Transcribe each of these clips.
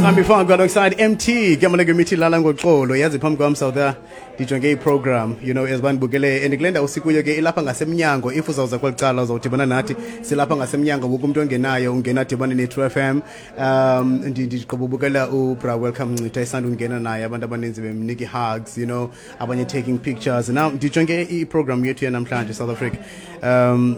Kambi Faku alongside MT ke mithi lala ngoxolo. Yazi, phambi kwam, South, ndijonge iprogram, as bandibukele, and kule ndawo sikuyo ke ilapha ngasemnyango. If uzawuza kweli cala, uzawudibana nathi, silapha ngasemnyango. Wonke umuntu ongenayo ungena adibane ne-True FM. Ndigqiba ubukela ubra Welcome Ncitha esanda ungena naye, abantu abaninzi bemnika i-hugs, abanye taking pictures. Now ndijonge iprogram yethu yanamhlanje, South Africa.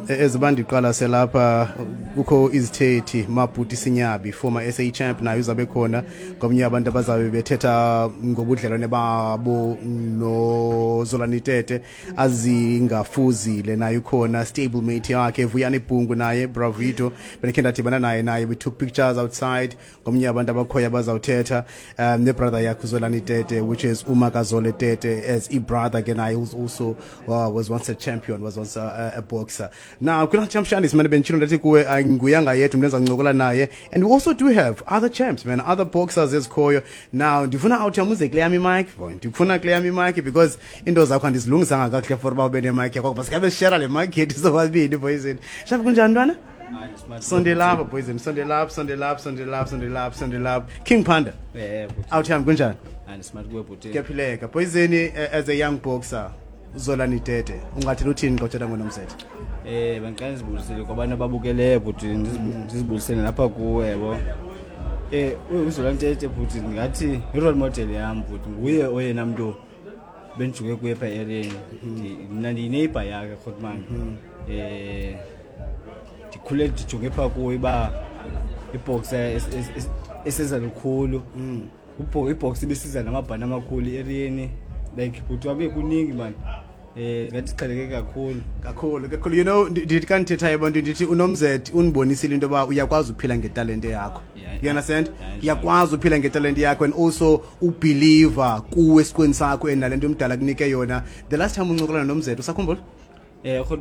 Eziba ndiqala selapha kukho izithethi, Mabhuti Sinyabi, former SA champ, naye uzabe khona ngomnye abantu abazabe bethetha ngobudlelwane babo noZolani Tete. Azingafuzile naye ukhona, stablemate yakhe Vuyani Bhungu naye Bravito bendikhe ndadibana naye, we took pictures outside, ngomnye abantu abakhoyo abazawuthetha, nebrother yakhe uZolani Tete, which is uMakazole Tete as i-brother ke naye who's also was once a champion, was once a boxer. Now kulaa champion simane benditshilo, ndathi kuwe nguyanga yethu mntu endizancokola naye, and we also do have other champs, man, other boxers ezikhoyo. Now ndifuna awuthi amuze kule yam imic boy, ndifuna kule yam imic because into zakho andizilungisanga kakuhle for uba ube nemic yakho, basikabe sishera le mic yethu sobabini. Poison shafi, kunjani ntwana? Sondelapha, Poison, sondelapha, sondelapha, sondelapha, sondelapha, sondelapha. King Panda. Bhuti. Awuthi yami, kunjani? Andismart kuwe, bhuti. Kuyaphileka, Poison. As a young boxer, uZolani Tete, ungathela uthini xa uthetha ngoNomzete? Bendiqala ndizibulisele kwabantu ababukeleyo, bhuti, ndizibulisele lapha kuwe, yabo. UZolani Tete, bhuti, ndingathi i-role model yam, bhuti, nguye oyena mntu bendijuke kuye pha ereni. Mna ndiyineighbor yakhe, Grootman. Ndikhule ndijonge pha kuye uba iboxer eseza lukhulu. Ibox ibisiza namabhani amakhulu ereni. Like, bhuti, wabe kuningi, man. Ngathi siqheleke kakhulu. Kakhulu, kakhulu. Ndithi xa ndithethayo abantu, ndithi uNomzet undibonisile into yoba uyakwazi uphila ngetalente yakho. You understand? Yeah. Uyakwazi uphila ngetalente yakho and also ubelieva kuwe esiqweni sakho and nale nto umdala kunike yona. The last time uncokola noNomzet, usakhumbula? Eh